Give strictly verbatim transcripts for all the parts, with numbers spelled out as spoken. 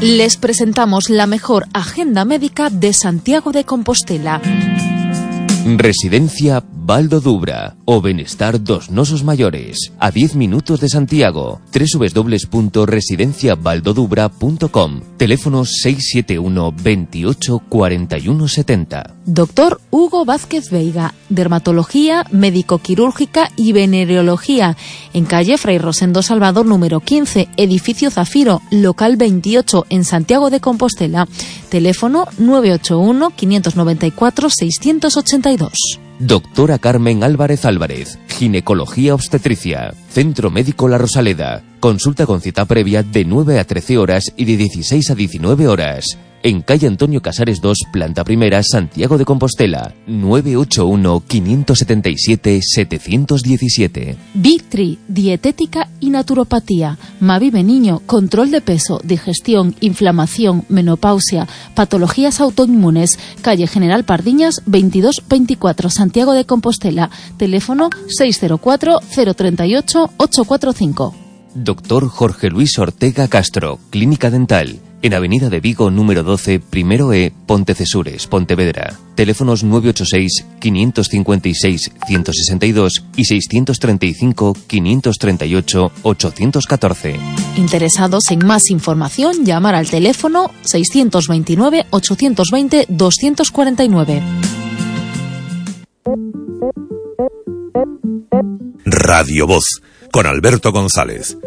Les presentamos la mejor agenda médica de Santiago de Compostela. Residencia Val do Dubra, o benestar dos nosos maiores, a diez minutos de Santiago. doble u doble u doble u punto residencia valdodubra punto com. Teléfono seis siete uno, veintiocho, cuarenta y uno setenta. Doctor Hugo Vázquez Veiga, dermatología, médico-quirúrgica y venereología, en calle Fray Rosendo Salvador número quince, edificio Zafiro, local veintiocho, en Santiago de Compostela. Teléfono nueve ocho uno, quinientos noventa y cuatro, seiscientos ochenta y dos. Doctora Carmen Álvarez Álvarez, ginecología obstetricia, Centro Médico La Rosaleda. Consulta con cita previa de nueve a trece horas y de dieciséis a diecinueve horas. En calle Antonio Casares dos, planta primera, Santiago de Compostela. nueve ocho uno, quinientos setenta y siete, setecientos diecisiete. Victri, dietética y naturopatía. Mavive Niño, control de peso, digestión, inflamación, menopausia, patologías autoinmunes. Calle General Pardiñas, veintidós veinticuatro, Santiago de Compostela. Teléfono seis cero cuatro, cero tres ocho, ocho cuatro cinco. Doctor Jorge Luis Ortega Castro, Clínica Dental. En Avenida de Vigo, número doce, primero E, Pontecesures, Pontevedra. Teléfonos nueve ocho seis, quinientos cincuenta y seis, ciento sesenta y dos y seiscientos treinta y cinco, quinientos treinta y ocho, ochocientos catorce. Interesados en más información, llamar al teléfono seiscientos veintinueve, ochocientos veinte, doscientos cuarenta y nueve. Radio Voz, con Alberto González.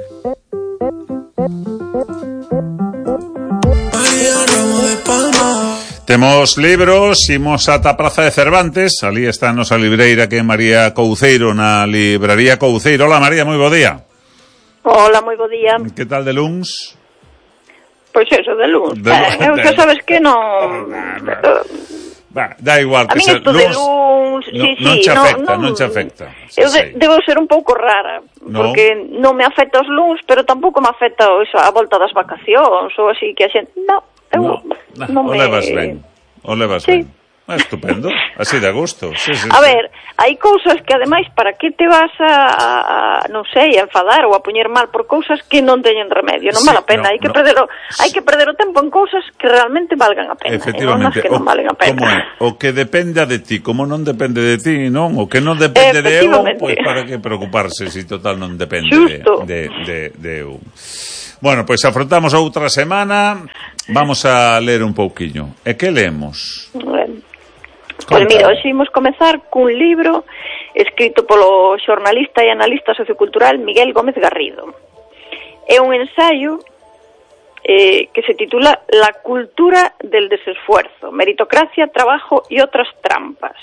Temos libros, imos ata a Praza de Cervantes. Ali está a nosa libreira, que é María Couceiro, na libraría Couceiro. Hola María, moi bo día. Hola, moi bo día. Que tal de luns? Pois eso, de luns. De eh, eu que sabes que non... Bah, da igual a que mí se isto de luns, no, sí, non sí, che no, afecta, non, non che afecta. Eu Sí, de, sí. debo ser un pouco rara, No. porque non me afecta os luns, pero tampouco me afecta eso, a volta das vacacións ou así que a xente, no, eu No, non o me... levas ben. O levas Sí. ben. Ah, estupendo, así de gusto. Sí, sí, A sí. ver, hai cousas que ademais para que te vas a, a non sei, a enfadar ou a poñer mal por cousas que non teñen remedio, non Sí, vale a pena, no, hai que no. perder o, hai que perder o tempo en cousas que realmente valgan a pena, Efectivamente, e non nas que non o, valen a pena. como é? O que dependa de ti, como non depende de ti, non? O que non depende de eu, Efectivamente. pois para que preocuparse se si total non depende Xusto. de, de, de, de eu. Bueno, pois afrontamos outra semana, vamos a ler un pouquiño. E que lemos? Bueno, pois mira, hoxe imos comezar cun libro escrito polo xornalista e analista sociocultural Miguel Gómez Garrido. É un ensaio eh, que se titula La cultura del desesfuerzo, meritocracia, trabajo y otras trampas.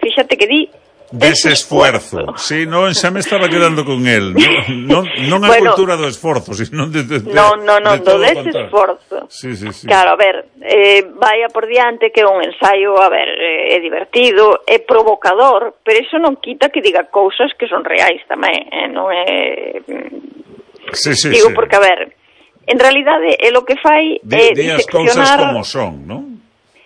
Fíxate que di Desesfuerzo. Sí, non, xa me estaba quedando con él. Non, non, non a Bueno, cultura do esforzo, sino de, de, de, No, no, no, de do todo o contrario. desesforzo. Sí, sí, sí. Claro, a ver, eh, vaya por diante que é un ensaio, a ver, eh, é divertido, é provocador, pero iso non quita que diga cousas que son reais tamén, eh, non é... Sí, sí, Digo, sí. porque, a ver, en realidade, é lo que fai Di, é di as cousas diseccionar... como son, non?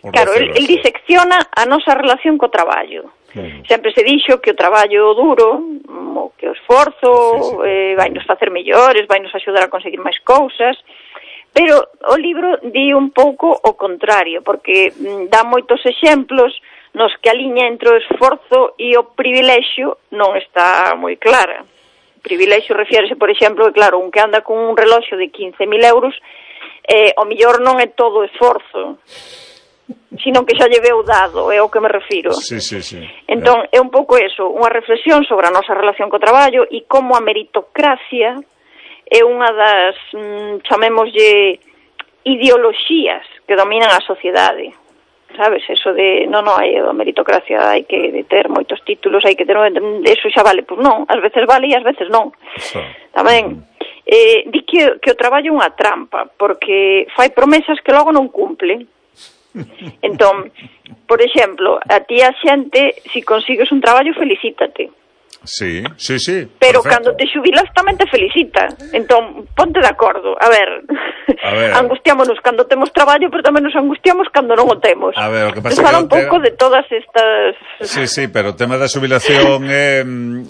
Por Claro, el, decirlo el así. disecciona a nosa relación co traballo. Claro. Sempre se dixo que o traballo duro, o que o esforzo, Sí, sí. eh, vai nos facer mellores, vai nos axudar a conseguir máis cousas, pero o libro di un pouco o contrario, porque mm, dá moitos exemplos nos que a liña entre o esforzo e o privilexio non está moi clara. O privilexio refiérese, por exemplo, que claro, un que anda con un reloxo de quince mil euros, eh, o millor non é todo o esforzo, sino que xa lle veu dado, é o que me refiro. Sí, sí, sí. Entón, é un pouco eso, unha reflexión sobre a nosa relación co traballo e como a meritocracia é unha das, mm, chamémoslle, ideoloxías que dominan a sociedade. Sabes, eso de, non, non, hai a meritocracia, hai que ter moitos títulos, hai que ter, eso xa vale, pois non, ás veces vale e ás veces non. Sí. Tamén, eh, di que, que o traballo é unha trampa, porque fai promesas que logo non cumple. Entón, por exemplo, a ti a xente, se si consigues un traballo, felicítate. Sí, sí, sí. Pero perfecto. cando te xubilas tamén te felicita. Entón, ponte de acordo. A ver, a ver. angustiámonos cando temos traballo, pero tamén nos angustiamos cando non o temos. A ver, o que pasa Fala que un pouco te... de todas estas... Sí, sí, pero o tema da xubilación é,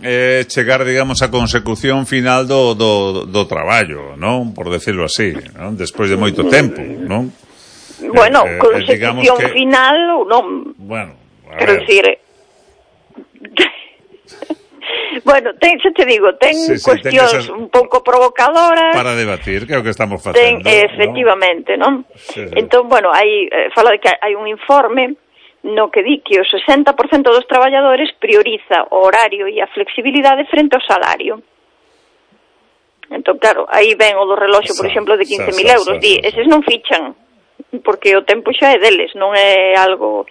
é chegar, digamos, á consecución final do, do, do traballo, non? Por decirlo así, non? Despois de moito tempo, non? Bueno, eh, consecución eh, que... final ou non. Bueno, a quero ver. dicir... Bueno, ten, xa te digo, ten sí, sí, cuestións ten esas... un pouco provocadoras para debatir, que é o que estamos facendo. Ten, efectivamente, non? Sí, sí. Entón, bueno, hai, eh, fala de que hai un informe no que di que o sesenta por cento dos traballadores prioriza o horario e a flexibilidade frente ao salario. Entón, claro, aí ven o do reloxo, por exemplo, de quince mil euros. Di, eses non fichan, porque o tempo xa é deles, non é algo...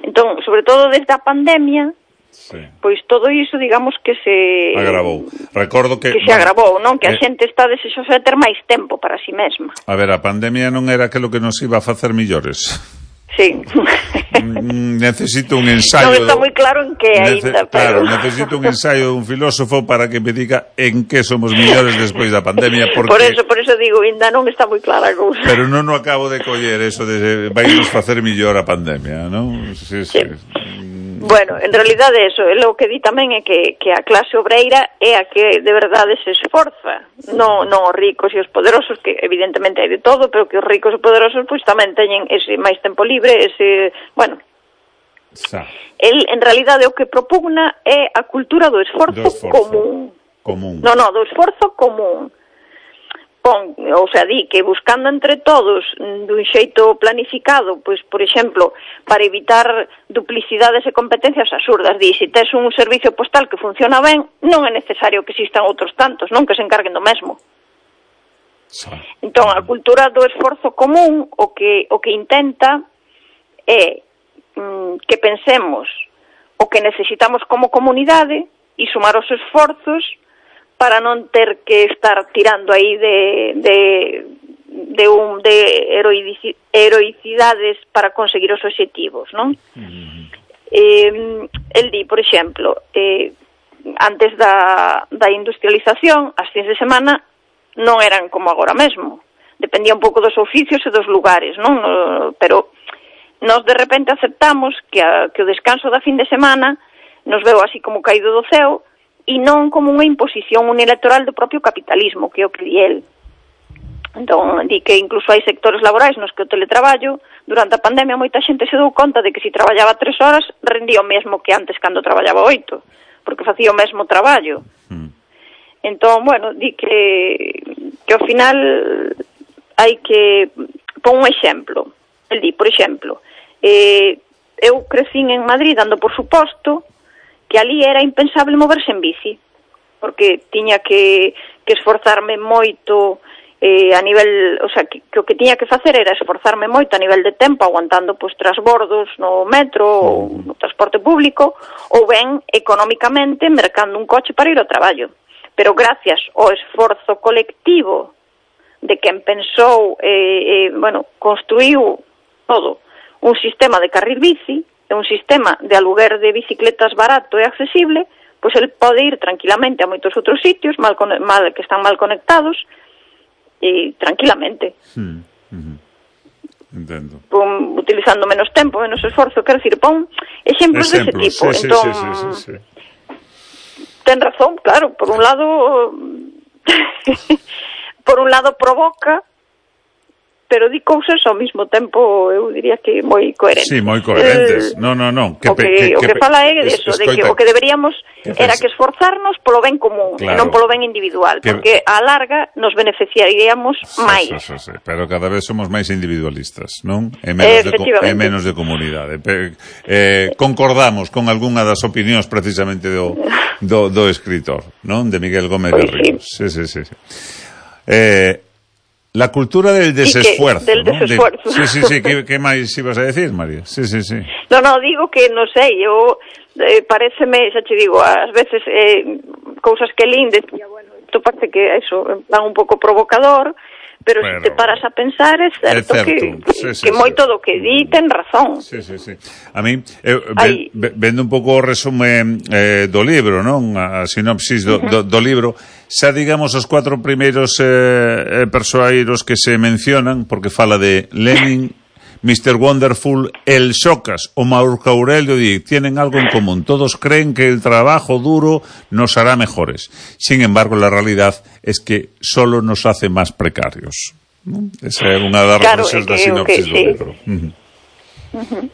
Entón, sobre todo desde a pandemia, sí. Pois todo iso, digamos, que se... agravou. Recordo que... Que se bueno, agravou, non? Que a eh... xente está desexosa de ter máis tempo para si mesma. A ver, a pandemia non era aquilo que nos iba a facer millores. Sí. Necesito un ensayo... Non está moi claro en que ainda, Nece... pero... Claro, necesito un ensayo dun filósofo para que me diga en que somos millores despois da pandemia, porque... Por eso, por eso digo, ainda non está moi clara a cousa. Pero non o acabo de coller eso de vai nos facer millor a pandemia, non? Sí, sí. sí. Bueno, en realidade eso, o que di tamén é que, que a clase obreira é a que de verdade se esforza, non, non os ricos e os poderosos, que evidentemente hai de todo, pero que os ricos e poderosos pois tamén teñen ese máis tempo libre, ese, bueno, Sa. el en realidade o que propugna é a cultura do esforzo, do esforzo. común. común. No, no, do esforzo común. Pon, ou sea, di que buscando entre todos dun xeito planificado, pois, por exemplo, para evitar duplicidades e competencias absurdas, di, se tes un servicio postal que funciona ben, non é necesario que existan outros tantos, non que se encarguen do mesmo. Sí. Entón, a cultura do esforzo común o que o que intenta é mm, que pensemos o que necesitamos como comunidade e sumar os esforzos para non ter que estar tirando aí de de de un de heroici, heroicidades para conseguir os obxectivos, non? Uh-huh. Eh, el di, por exemplo, eh, antes da, da industrialización, as fins de semana non eran como agora mesmo. Dependía un pouco dos oficios e dos lugares, non? No, pero nós de repente aceptamos que, a, que o descanso da fin de semana nos veo así como caído do ceo, e non como unha imposición unilateral do propio capitalismo, que é o que di el. Entón, di que incluso hai sectores laborais nos que o teletraballo, durante a pandemia moita xente se dou conta de que se traballaba tres horas, rendía o mesmo que antes cando traballaba oito, porque facía o mesmo traballo. Mm. Entón, bueno, di que, que ao final hai que... Pon un exemplo. El di, por exemplo, eh, eu crecín en Madrid dando por suposto que ali era impensable moverse en bici, porque tiña que, que esforzarme moito eh, a nivel, o sea, que, que o que tiña que facer era esforzarme moito a nivel de tempo, aguantando pois trasbordos no metro ou no transporte público, ou ben económicamente mercando un coche para ir ao traballo. Pero gracias ao esforzo colectivo de quen pensou, eh, eh, bueno, construiu todo un sistema de carril bici, é un sistema de aluguer de bicicletas barato e accesible, pois el pode ir tranquilamente a moitos outros sitios mal, mal que están mal conectados e tranquilamente. Mm, mm-hmm. Entendo. Pon, utilizando menos tempo, menos esforzo, quero dicir, pon exemplos, exemplos dese tipo. Sí, entón, sí, sí, sí, sí. ten razón, claro, por un lado por un lado provoca, pero di cousas ao mesmo tempo, eu diría que moi coherentes. Sí, moi coherentes. Eh, no, no, no. Que, o que, que, o que, que fala é de eso, de que o que deberíamos que era que esforzarnos polo ben común, claro, e non polo ben individual, que, porque a larga nos beneficiaríamos sí, máis. Sí, sí, sí, pero cada vez somos máis individualistas, non? E menos, de, e menos de comunidade. Eh, concordamos con algunha das opinións precisamente do, do, do escritor, non? De Miguel Gómez de Ríos. Sí, sí, sí. sí. Eh... La cultura del desesfuerzo, que, del ¿no? desesfuerzo. De, sí, sí, sí. ¿Qué, ¿Qué máis ibas a decir, María? Sí, sí, sí. No, no, digo que, non sei, eu, eh, pareceme, xa te digo, ás veces, eh, cousas que lín, decía, bueno, isto parece que eso, van un pouco provocador, pero, pero se te paras a pensar, é certo, é certo. que, sí, sí, que sí, moito sí. do que di ten razón. Sí, sí, sí. A mí, eh, ve, vendo un pouco o resume eh, do libro, non? A sinopsis do, uh-huh. do, do libro, xa digamos os cuatro primeiros eh, persoeiros que se mencionan, porque fala de Lenin, mister Wonderful, el Xocas o Marco Aurelio di, tienen algo en común. Todos creen que el trabajo duro nos hará mejores. Sin embargo, la realidad es que solo nos hace más precarios. ¿No? Esa é unha das claro, reflexións da sinopsis okay, do sí. libro. Uh-huh. Uh-huh.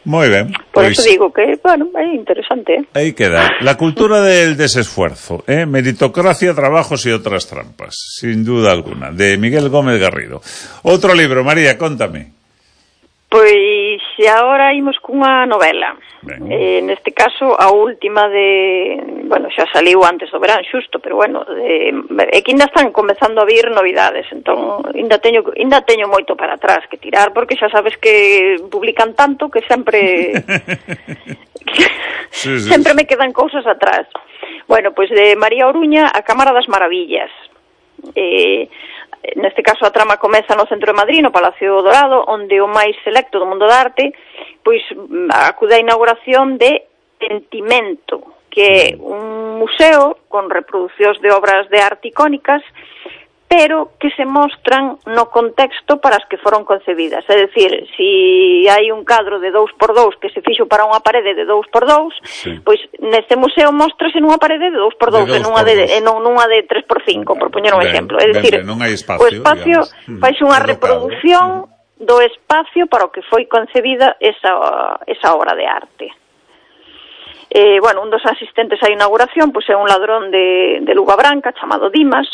Moi ben. Por Pois, eso digo que, bueno, é interesante. Aí queda. La cultura del desesfuerzo, ¿eh? Meritocracia, trabajos y otras trampas. Sin duda alguna. De Miguel Gómez Garrido. Outro libro, María, contame. Pois agora imos cunha novela. Eh, neste caso, a última de... Bueno, xa saliu antes do verán xusto, pero bueno, de, é que ainda están comezando a vir novidades, entón ainda teño, ainda teño moito para atrás que tirar, porque xa sabes que publican tanto que sempre... sí, sí. Sempre me quedan cousas atrás. Bueno, pois de María Oruña, A Cámara das Maravillas. Eh... Neste caso a trama comeza no centro de Madrid, no Palacio Dorado, onde o máis selecto do mundo da arte pois acude á inauguración de Sentimento, que é un museo con reproducións de obras de arte icónicas, pero que se mostran no contexto para as que foron concebidas. É dicir, se hai un cadro de dous por dous que se fixo para unha parede de dous por dous, sí. pois neste museo mostrase nunha parede de dous por dous, e nunha de, e non nunha de tres por cinco, por poñer un ben, exemplo. É dicir, ben, ben, non hai espacio, o espacio faixe unha reproducción do espacio para o que foi concebida esa, esa obra de arte. Eh, bueno, un dos asistentes á inauguración pois é un ladrón de, de Luga Branca chamado Dimas,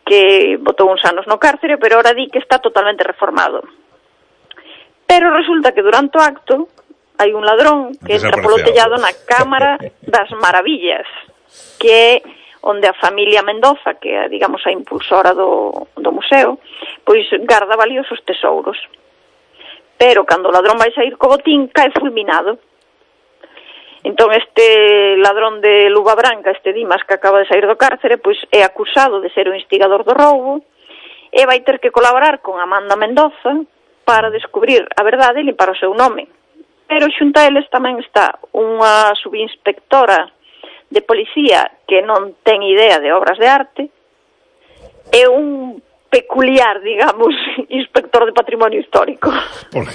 que botou uns anos no cárcere, pero ahora di que está totalmente reformado. Pero resulta que durante o acto hai un ladrón que entra polo tellado na Cámara das Maravillas, que é onde a familia Mendoza, que é, digamos, a impulsora do, do museo, pois garda valiosos tesouros. Pero cando o ladrón vai sair co botín, cae fulminado. Entón este ladrón de Luga Branca, este Dimas que acaba de sair do cárcere, pois é acusado de ser o instigador do roubo e vai ter que colaborar con Amanda Mendoza para descubrir a verdade e limpar o seu nome. Pero xunto a eles tamén está unha subinspectora de policía que non ten idea de obras de arte e un peculiar, digamos, inspector de patrimonio histórico. ¿Por qué?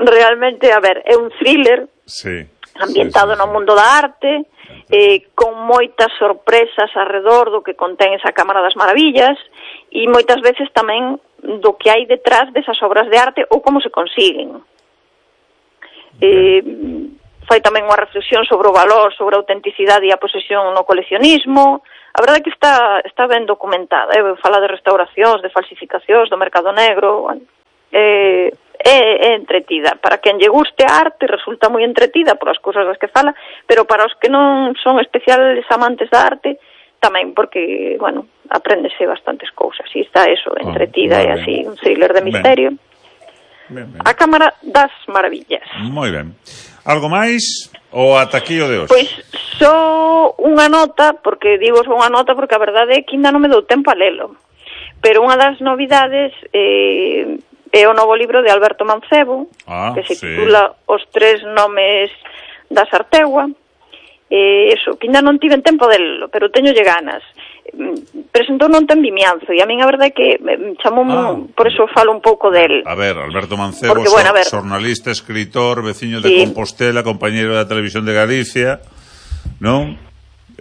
Realmente, a ver, é un thriller. Sí. Ambientado sí, sí, sí. no mundo da arte, eh, con moitas sorpresas arredor do que contén esa Cámara das Maravillas e moitas veces tamén do que hai detrás desas obras de arte ou como se consiguen. Eh, fai tamén unha reflexión sobre o valor, sobre a autenticidade e a posesión no coleccionismo. A verdade é que está, está ben documentada, eh? Fala de restauracións, de falsificacións, do mercado negro, bueno, eh, É, é entretida. Para quen lle guste a arte resulta moi entretida por as cousas das que fala, pero para os que non son especiales amantes da arte tamén, porque, bueno, apréndese bastantes cousas e está eso, entretida, oh, e así, un thriller de misterio. Ben. Ben, ben. A Cámara das Maravillas. Moi ben. Algo máis ou ata aquí o de hoxe? Pois só unha nota, porque digo só unha nota porque a verdade é que ainda non me dou tempo a lelo, pero unha das novidades eh, é o novo libro de Alberto Mancebo, ah, que se sí. titula Os tres nomes da Sartegua. Eh, eso, que ainda non tiven tempo delo, pero teñolle ganas. Presentou non ten Vimianzo, e a min a verdade é que chamou, ah, por eso falo un pouco del. A ver, Alberto Mancebo, porque, bueno, ver, xornalista, escritor, veciño de sí. Compostela, compañeiro da Televisión de Galicia, non?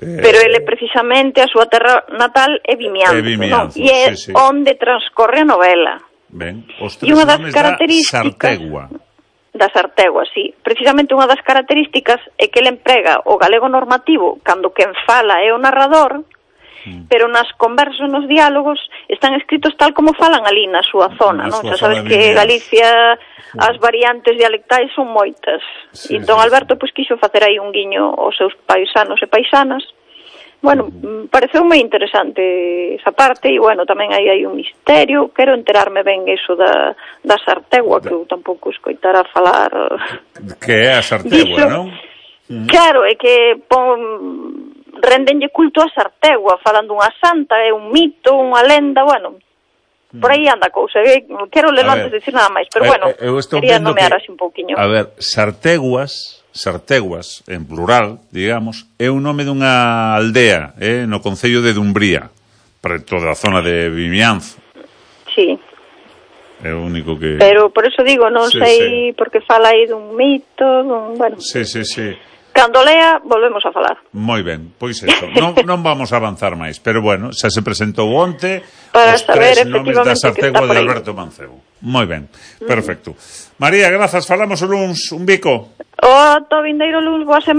Eh, pero ele precisamente a súa terra natal é Vimianzo, é Vimianzo, non? E é sí, sí. onde transcorre a novela. Ben, os tres nomes da Sartegua. Da Sartegua, sí. Precisamente unha das características é que ele emprega o galego normativo cando quen fala é o narrador, mm. pero nas conversas, nos diálogos, están escritos tal como falan ali na súa zona, na non? Xa sabes que Galicia as variantes dialectais son moitas. Sí, entón sí, Alberto pois quixo facer aí un guiño aos seus paisanos e paisanas. Bueno, uh-huh. pareceu moi interesante esa parte e, bueno, tamén aí hai un misterio. Quero enterarme ben eso da, da Sartegua, que eu tampouco escoitara falar. Que é a Sartegua, non? Uh-huh. Claro, é que pon, rendenlle culto a Sartegua, falando unha santa, é un mito, unha lenda, bueno, por aí anda a cousa. Quero ler antes de decir nada máis, pero bueno, quería nomear así un pouquiño. A ver, Sarteguas, Sarteguas, en plural, digamos, é un nome dunha aldea, eh, no concello de Dumbría, preto da zona de Vimianzo. Sí. É o único que... Pero por eso digo, non sí, sei, sí. Porque fala aí dun mito, dun... Bueno. Sí, sí, sí. Cando lea, volvemos a falar. Moi ben, pois eso. Non, non vamos a avanzar máis, pero bueno, xa se presentou onte para os saber tres nomes da Sartegua de Alberto Mancebo. Moi ben, perfecto. Mm. María, grazas, falamos o luns, un bico. O to vindeiro luns, boa semana.